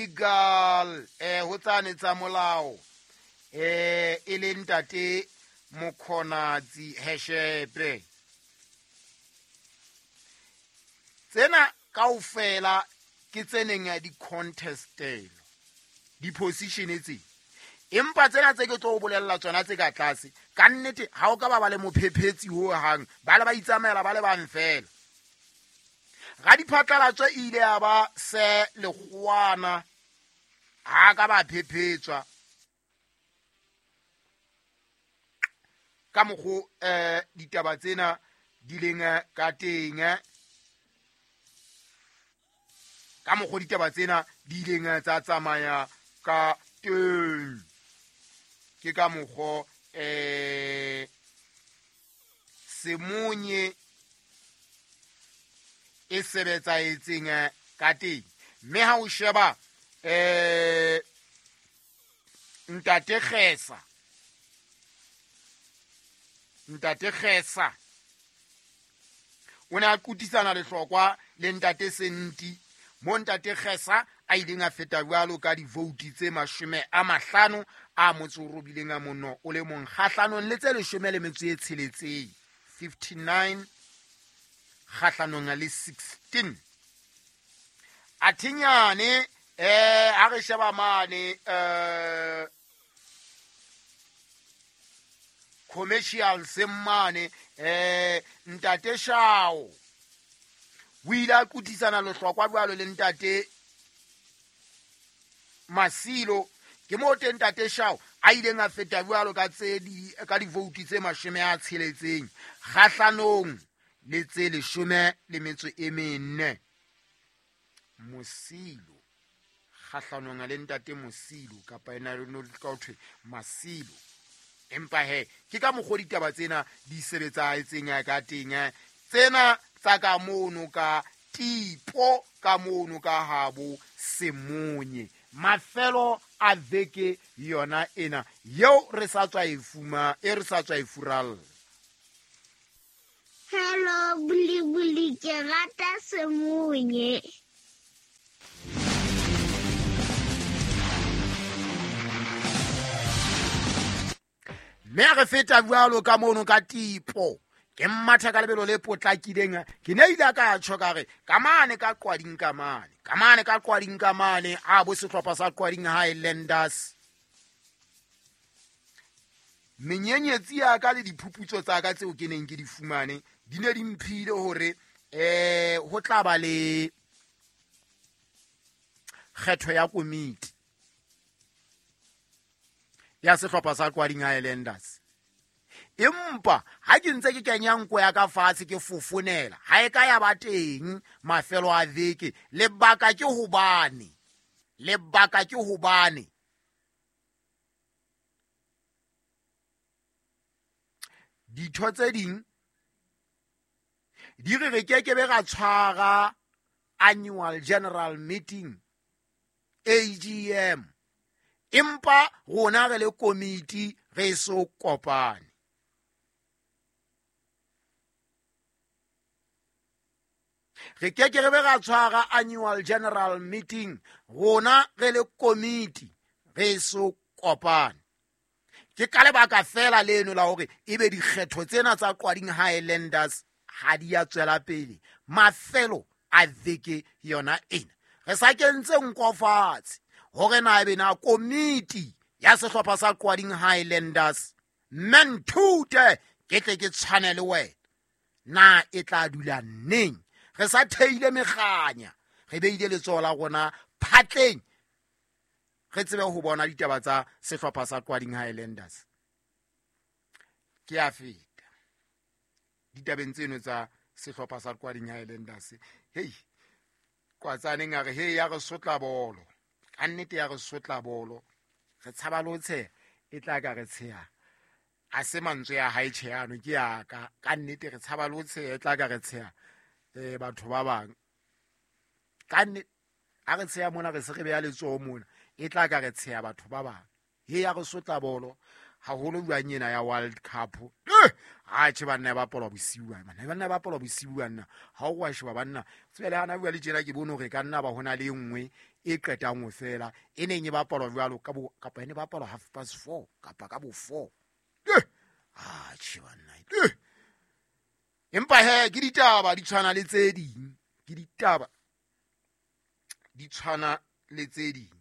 Legal ho tsane tsa molao e le ntate Mokhonatsi Heshepe. Tsena kaofela ke tse neng di contestelo di-position tse, empa tsena tse ke tlo o bolella tsona tse ka tlase ka nnete ha o ka ba ba le mophephetsi ho hang, ba le ba itsamaela ba le bang fela. Radiphatlalatso e ile ya ba se lekgowana, ha ka ba phephetswa ka mokgo ditaba tsena di leng ka teng, ka mokgo ditaba tsena di ileng tsa tsamaya ka teng. Ke ka mokgo Semonye e sebetsaetseng ka teng. Mme ha o sheba Ntate Kgesa, Ntate Kgesa o ne a kutisana lehlokwa le Ntate Senti, mo Ntate Kgesa a ileng a feta jwalo ka divouti tse 50 a motso o robileng a mono o le mong kgahlanong le tse 16, 59 kgahlanong le 16. Athinyane ha re sheba mane commercial semmane Ntate Shao o ile a kutisana lehlokwa jwalo le Ntate Masilo. Ke moo teng Ntate Shao a ileng a feta jwalo ka tse di ka divouti tse 60 kgahlanong le tse 14. Mosilo kgahlanong le Ntate Mosilo kapa ena no ka ho thwe Masilo. Empa he ke ka mokgo ditaba tsena di sebetsaetseng ka teng, tsena tsa ka mono ka tipo ka mono ka habo Semonye. Mafelo a veke yona ena yeo re sa tswa e fuma, e re sa tswa e furalla. Hello Buli Buli, ke rata Semonye. Mme re feta jwalo ka mono ka tipo, ke mmatha ka lebelo le potlakileng. Ke ne ile ka tjho ka re ka mane ka Qwading ka mane, ka mane ka Qwading ka mane, a bo sehlopha sa Qwading Highlanders. Menyenyetsi ya ka le diphuputso tsa ka tseo ke neng ke di fumane di ne di mphile hore ho tla ba le kgetho ya komiti ya sehlopha sa Qwading Highlanders. Empa ha ke ntse ke kenya nko ya ka fatshe ke fofonela, ha e ka ya ba teng mafelo a veke. Lebaka ke hobane, lebaka ke hobane ditho tse ding di re re keke be ra tshwara annual general meeting AGM, empa rona re le komiti re so kopane. Re keke re be ra tshwara annual general meeting rona re le komiti re so kopane. Ke ka lebaka fela leno la hore ebe dikgetho tsena tsa Qwading Highlanders ha di a tswela pele mafelo a veke yona ena. Re sa kentse nko fatshe hore na ebe na komiti ya sehlopha sa Qwading Highlanders mme nthute ke tle ke tshwane le wena, na e tla dula neng? Re sa theile mekganya, re beile letsoho la rona phatleng, re tsebe ho bona ditaba tsa sehlopha sa Qwading Highlanders. Ke a feta ditabeng tseno tsa sehlopha sa Qwading Highlanders. Hei, Kwatsaneng a re hei, ya re sotla bolo, ka nnete ya re sotla bolo, re tshaba le ho tsheha, e tla ka re tsheha. A se mantswe ya hae tjhe ano ke ya ka, ka nnete re tshaba le ho tsheha, e tla ka re tsheha batho ba bang. Ka nnete ha re tsheha mona, re se re beha letsoho mona, e tla ka re tsheha batho ba bang. He ya re sotla bolo haholo jwang ena ya World Cup. Ha tjhe banna ba bapalwa bosiu bana, banna ba bapalwa bosiu bana. Ha o wa sheba banna, tsebe le hana bua le tjena ke bone hore ka nna ba hona le e nngwe e qetang ho fela e neng e bapalwa jwalo ka bo kapa e ne bapalwa 4:30 kapa ka bo 4. Atjhe banna. Empa he ke ditaba di tshwana le tse ding, ke ditaba di tshwana le tse ding.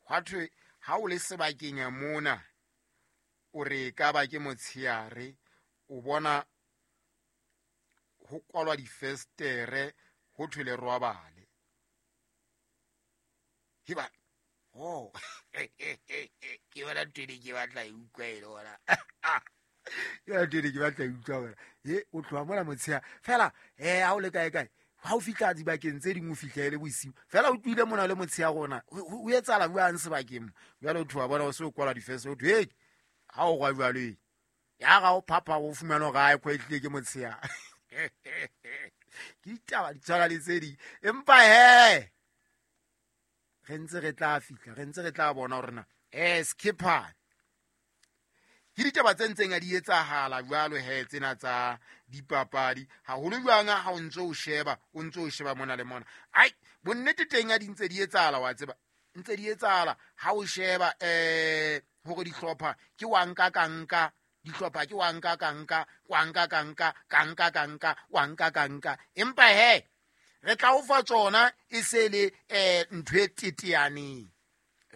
Hwa thwe ha o le sebakeng mona o re ka ba ke motsheare o bona ho kwalwa difestere ho thwe le robale. Hiba oh ke bona ntho ene ke batla e utlwa e le hona. Ke bona ntho ene ke batla e utlwa hona. O tloha mona motshehare fela ha o le kae kae ha o fihla dibakeng tse ding o fihla e le bosiu fela o tlohile mona le motshehare ona o etsahala jwang sebakeng mo. Jwale o tloha bona o se o kwalwa difestere o thwe hey ha o rwa jwalo e ya ga o phapha o fumana hore ha e kwetlile ke motshehare. Ke ditaba di tshwana le tse ding empa he re ntse re tla fihla re ntse re tla bona hore na skipper ke ditaba tse ntseng a di etsahala jwalo he tsena tsa dipapadi haholo jwang ha o ntse o sheba o ntse o sheba mona le mona. Ai bonnete teng a di ntse di etsahala wa tseba ntse di etsahala ha o sheba hore dihlopha ke wa nka ka nka dihlopha ke wa nka ka nka wa nka ka nka ka nka ka nka wa nka ka nka empa he re tla o fa tsona e se le ntho e teteaneng.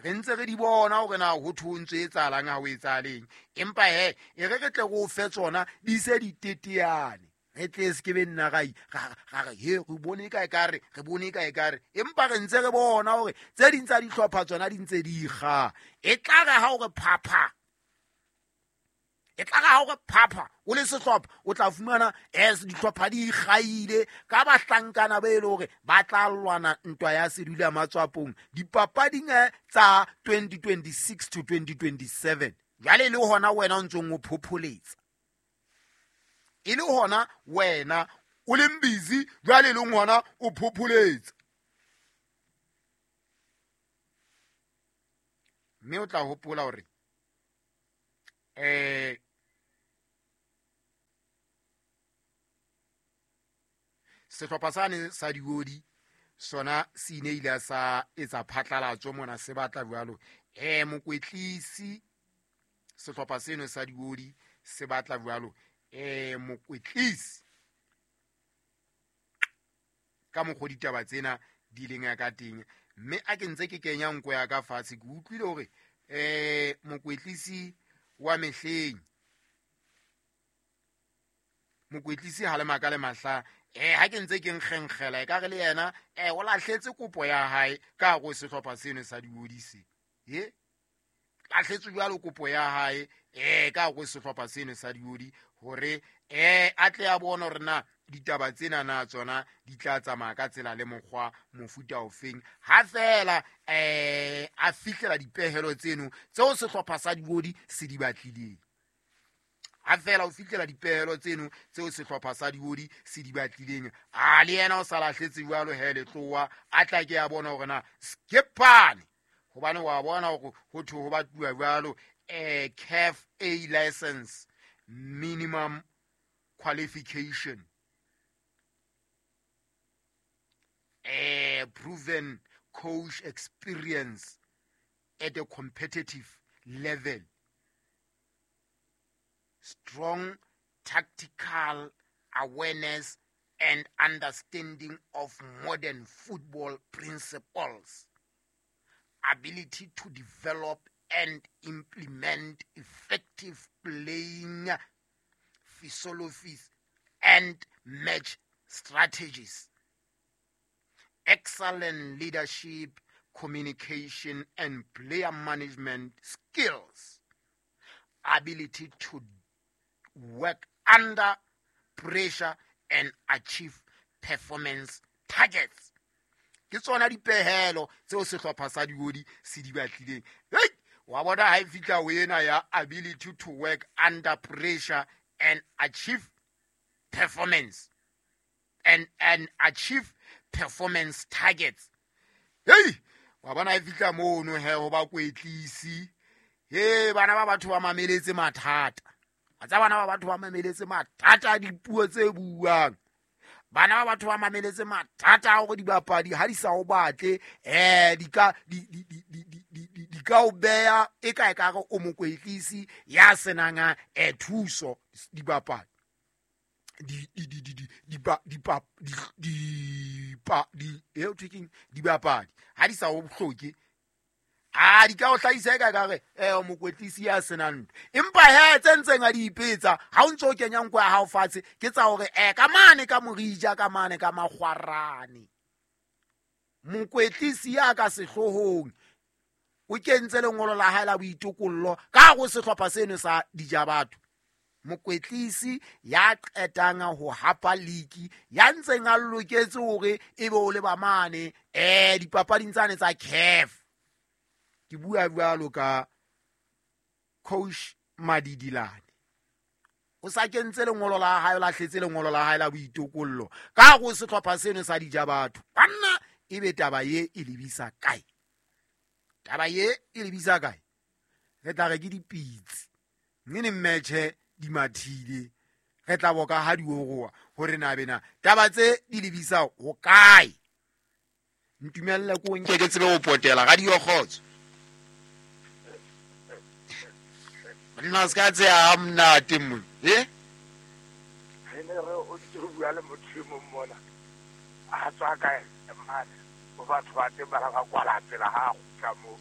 Re ntse re di bona hore na ho thwe ho ntse etsahalang ha ho etsahaleng empa he e re re tle re o fe tsona di se di teteane re tle se ke be nna ra re he re bone kae ka re re bone kae ka re empa re ntse re bona hore tse ding tsa dihlopha tsona di ntse di ikga. E tla re ha o re phapha e tla ha o re phapha o le sehlopha o tla fumana as dihlopha di ikgaile ka bahlankana ba e le hore ba tla lwana ntwa ya sedula matswapong dipapading tsa 2026 to 2027. Jwale le hona wena o ntsong o phopholetsa e le hona wena o leng busy jwale le hona o phopholetsa mme o tla hopola hore sehlopha sane sa diodi sona se ile ile sa etsa phatlalatso mona se batla jwalo mokwetlisi sehlopha seno sa diodi se batla jwalo mokwetlisi ka mokgwa ditaba tsena di leng ya ka teng mme a ke ntse ke kenya nko ya ka fatshe ke utlwile hore mokwetlisi wa mehleng mokwetlisi ha le maka le mahla ha ke ntse ke nkgenkgela e ka re le yena o lahletse kopo ya hae ka hare ho sehlopha seno sa diodi se lahletse jwalo kopo ya hae ka hare ho sehlopha seno sa diodi hore a tle a bone hore na ditaba tsena na tsona di tla tsamaya ka tsela le mokgwa mofuta ofeng ha fela a fihlela dipehelo tseno tseo sehlopha sa diodi se di batlileng. Ha fela o fihlela dipehelo tseno tseo sehlopha sa diodi se di batlileng a le yena o sa lahletse jwalo he letlowa a tla ke a bona hore na skipane hobane wa bona hore ho thwe ho batluwa jwalo CAF A license minimum qualification proven coach experience at a competitive level strong tactical awareness and understanding of modern football principles, ability to develop and implement effective playing philosophies and match strategies, excellent leadership, communication and player management skills, ability to work under pressure and achieve performance targets. Ke tsona dipehelo tseo sehlopha sa diodi se di batlileng. Hey, wa bona ha e fihla ho ena ya ability to work under pressure and achieve performance and achieve performance targets. Hey, wa bona ha e fihla mono he ho ba kwetlisi. Hey, bana ba batho ba mameletse mathata. A tsa bana ba batho ba mameletse mathata a dipuo tse buang. Bana ba batho ba mameletse mathata a hore dibapadi ha di sa o batle, di ka o beha e ka ekare o mokwetlisi ya senang thuso dibapadi. Dibapadi ha di sa o hloke, a di ka o hlahisa e ka ekare mokwetlisi ya senang ntho. Empa he tse ntseng a di ipetsa ha o ntso o kenya nko ya hao fatshe, ke tsa hore ka mane ka morija, ka mane ka makgwarane. Mokwetlisi ya ka sehloohong o kentse lengolo la hae la boitokollo ka hare ho sehlopha seno sa Dijabatho. Mokwetlisi ya qetang ho hapa league, ya ntseng a loketse hore ebe o le ba mane dipapading tsane tsa CAF. Ke bua jwalo ka coach Madidilane. O sa kentse lengolo la hae, o lahletse lengolo la hae la boitokollo ka hare ho sehlopha seno sa Dijabatho. Banna, ebe taba ye e lebisa kae? Taba ye e lebisa kae? Re tla re ke dipitsi, mme ne mmetjhe di mathile, re tla boka ha di oroa hore na bena taba tse di lebisa ho kae. Ntumelle ko nke ke tsebe ho potela radio kgotso. Nna se ka tseya ha monate mona, Re ne re o ntse o bua le motho e mong mona, a tswa kae mane, bo batho ba teng ba la ba kwala tsela ha a kgutla moo.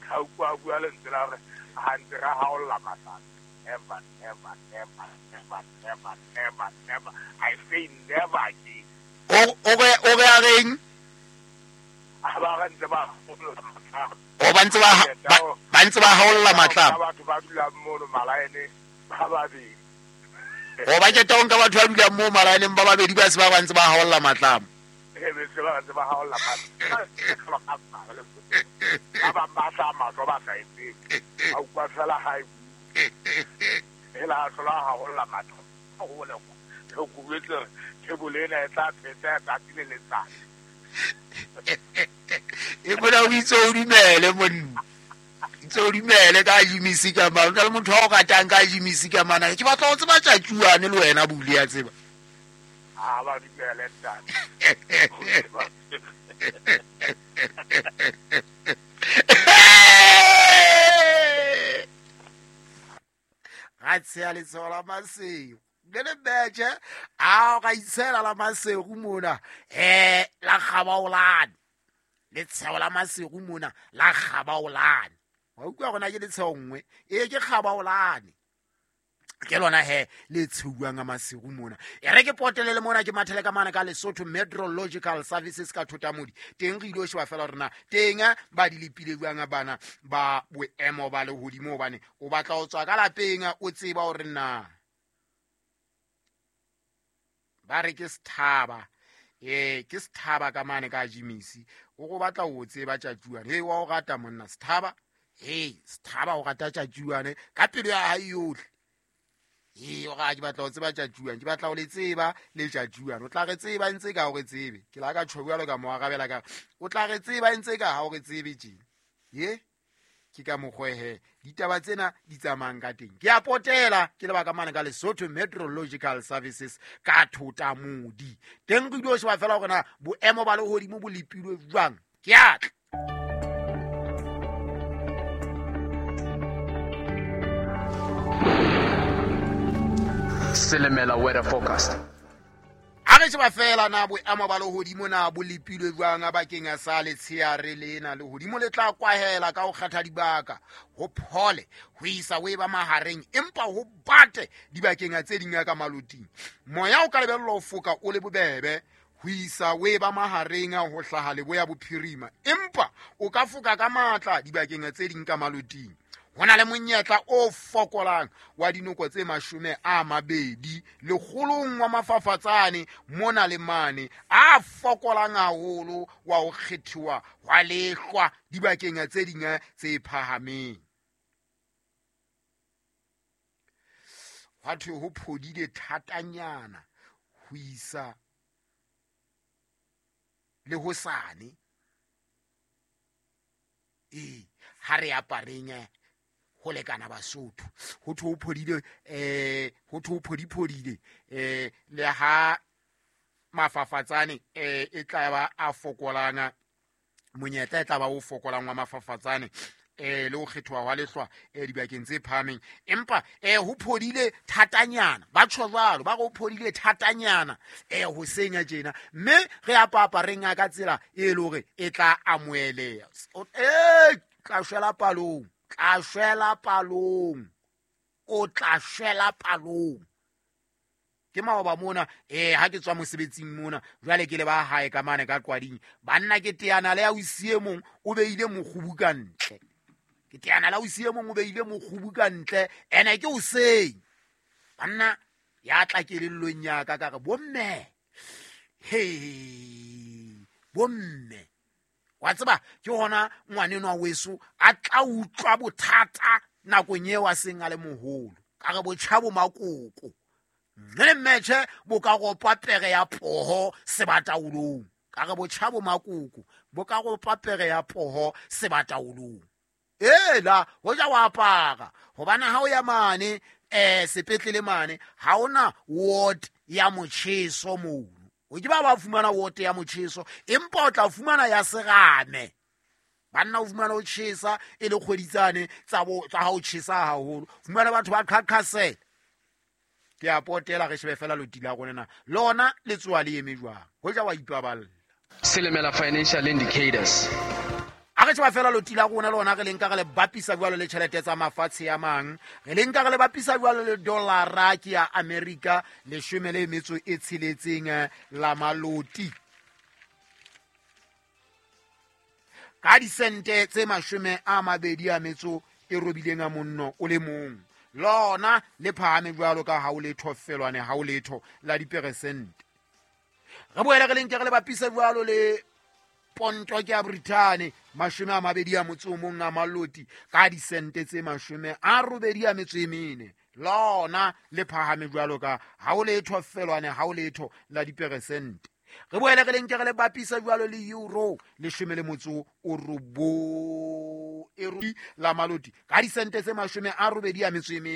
Ka utlwa a bua lentswe la hore ha ntse re haolla matlalo. Never, never, never, never, never, never, never. I say never again. O re a reng? A ba re ntse ba haolla matlalo. O ba ntse ba haolla matlalo. Batho ba dulang mono malaene ba babedi. O ba keta o nka batho ba dulang moo malaeneng ba babedi ba se ba ntse ba haolla matlamo. E be se ba ntse ba haolla matlamo. Ba bang ba sa matlo ba sa etseng. Ba utlwa fela ha e hela hlola haolla matlo. Ho le go kubetse table ena e tla phetsa tsatsi le letsatsi. E bona o itse o dumele monna. Itse o dumele ka Jimisi ka mane. O na le motho wa o ratang ka Jimisi ka mane. Ke batla ho tseba tjatjuane le wena Bule ya tseba. Ha ba dumele ntate. Ga tsheya letshego la Masego. Le le betjhe, a ga itshela la Masego mona, la kgabaolane. Letshego la Masego mona la kgabaolane. Wa utlwa gona ke letshego nngwe, e ke kgabaolane. Ke lona he le tsheuwang a Masego mona. E re ke potele le mona ke mathele ka mane ka Lesotho Meteorological Services ka Thotamodi. Teng re ilo sheba fela hore na teng ba di lepile jwang bana ba boemo ba lehodimo, hobane o batla ho tswa ka lapeng o tseba hore na ba re ke sethaba. Ke sethaba ka mane ka Jimisi. O go batla ho tseba tjatjuane. Hei, wa o rata monna sethaba. Hei, sethaba o rata tjatjuane ka pelo ya hae yohle. Ee, o ra ke batla ho tseba tjatjuane, ke batla ho le tseba le tjatjuane. O tla re tseba ntse ka o re tsebe. Ke la ka tjho jwalo ka mo arabela ka. O tla re tseba ntse ka ha o re tsebe tje. Ye? Ke ka mokgwa he ditaba tsena di tsamayang ka teng. Ke a potela ke lebaka mane ka Lesotho Meteorological Services ka Thotamodi. Teng re ilo sheba fela hore na boemo ba lehodimo bo lepilwe jwang. Ke a tla. Selemela weather forecast. A re sheba fela na boemo ba lehodimo na bo lepilwe jwang bakeng sa letsheare lena. Lehodimo le tla kwahela ka ho kgetha dibaka, ho phole ho isa ho eba mahareng, empa ho bate dibakeng tse ding ka maloting. Moya o ka lebellwa ho foka o le bobebe ho isa ho eba mahareng ho hlaha leboya bophirima, empa o ka foka ka matla dibakeng tse ding ka maloting. Ho na le monyetla o fokolang wa dinoko tse 20 lekgolong wa mafafatsane mona le mane, a fokolang haholo wa ho kgethiwa hwa lehlwa dibakeng tse ding tse phahameng. Hwa thwe ho phodile thatanyana ho isa le hosane. Ee, ha re apareng ho lekana Basotho. Ho thwe ho phodile, ho thwe ho phodiphodile, le ha mafafatsane e tla ba a fokolang, monyetla e tla ba o fokolang wa mafafatsane, le ho kgethoha hwa lehlwa dibakeng tse phahameng. Empa ho phodile thatanyana, ba tjho jwalo, ba re ho phodile thatanyana hoseng ya tjena, mme re apapa re nga ka tsela e le hore e tla amoheleha. Tla shwela palong, tla shwela palong, o tla shwela palong. Ke maoba mona, ha ke tswa mosebetsing mona, jwale ke le ba hae ka mane ka Qwading. Banna ke teana le ausi e mong, o beile mokgubu ka ntle. Ke teana le ausi e mong, o beile mokgubu ka ntle, ene ke hoseng. Banna, ya tla kelellong ya ka, ka re, bomme, he, bomme. Wa tseba, ke hona ngwanenwa weso a tla utlwa bothata nakong eo a seng a le moholo. Ka re botjha bo makoko. Mme le mmetjhe bo ka ropa pere ya poho sebataolong. Ka re botjha bo makoko bo ka ropa pere ya poho sebataolong. Ela, hoja wa apara, hobane ha o ya mane, sepetlele mane, ha ona ward ya motjheso mono. O ke ba ba fumana ward ya motjheso, empa o tla fumana ya serame. Banna o fumana o tjhesa e le kgwedi tsane tsa bo, tsa ha o tjhesa haholo. Fumana batho ba qhaqhasela. Ke a potela re shebe fela loti la rona na. Lona le tsoa le eme jwang? Hoja wa ipaballa. Silimela Financial Indicators. A re sheba fela loti la rona lona re le nka re le bapisa jwalo le tjhelete tsa mafatshe a mang. Re le nka re le bapisa jwalo le dollara ke ya Amerika leshome le metso e tsheletseng la maloti. Ka disente tse mashome a mabedi a metso e robileng a monno o le mong. Lona le phahame jwalo ka ha o letho felwane ha o letho la diperesente. Re boele re le nke re le bapise jwalo le ponto ke ya Brithani mashome a mabedi a motso o mong a maloti ka disente tse mashome a robedi a metso e mene. Lona le phahame jwalo ka ha o letho felwane ha o letho la diperesente. Re boele re le nke re le bapise jwalo le euro leshome le motso o robo e la maloti ka disente tse mashome a robedi a metso e mene.